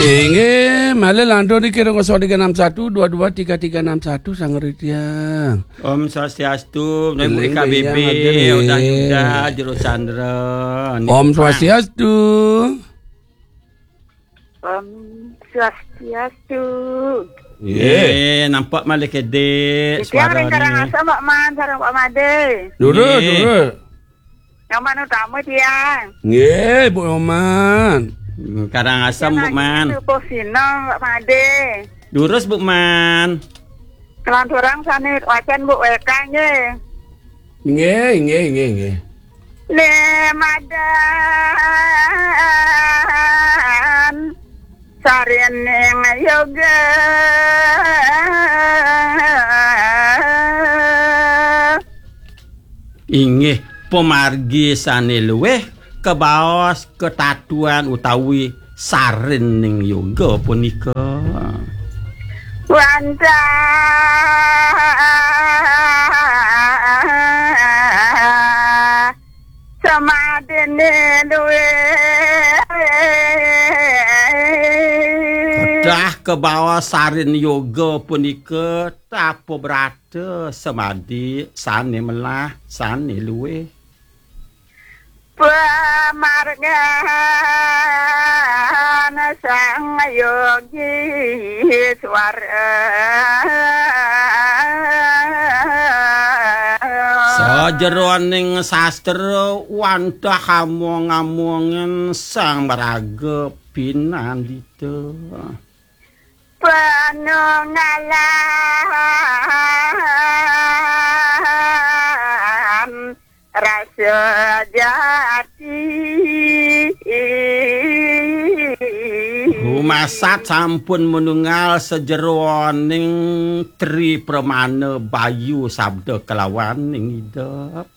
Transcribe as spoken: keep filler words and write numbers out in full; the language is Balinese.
Inggih, malih lantur niki kira kosong tiga enam satu dua dua tiga tiga enam satu, Sang Ritya. Om Swastiastu, Ibu Inggih, K B B, iya, hadir, Udan Yuda, Jero Chandra. Om Swastiastu. Om Swastiastu. Nggih. Eh, nampak malih kedek suara ni. Karangasem, Pak Man, sareng Pak Made. Durus, nggih, durus. Nyoman Utama tiang. Nggih, Bu Nyoman. Hmm, Karangasem, Bu Man. Sepuh Sinong, Pak Made. Durus, Bu Man. Kelanturang sane wacan, Bu, wekang nggih. Nggih, nggih, nggih, nggih. Ne madan sarining yoga. Inggih, pamargi sane luwih kabaos katatuan utawi sarining yoga punika. Wantah samadine luwih. Kedah kabaos sarin yoga punika tapa brata samadi sane melah sane luwih. Pamargan sang yogi swara. Sajeroning sastra wantah among-amongan sang maraga pinandita. Panunggalan rasa jati. Rumasat sampun manunggal sajeroning tri pramana bayu sabda kalawaning idep.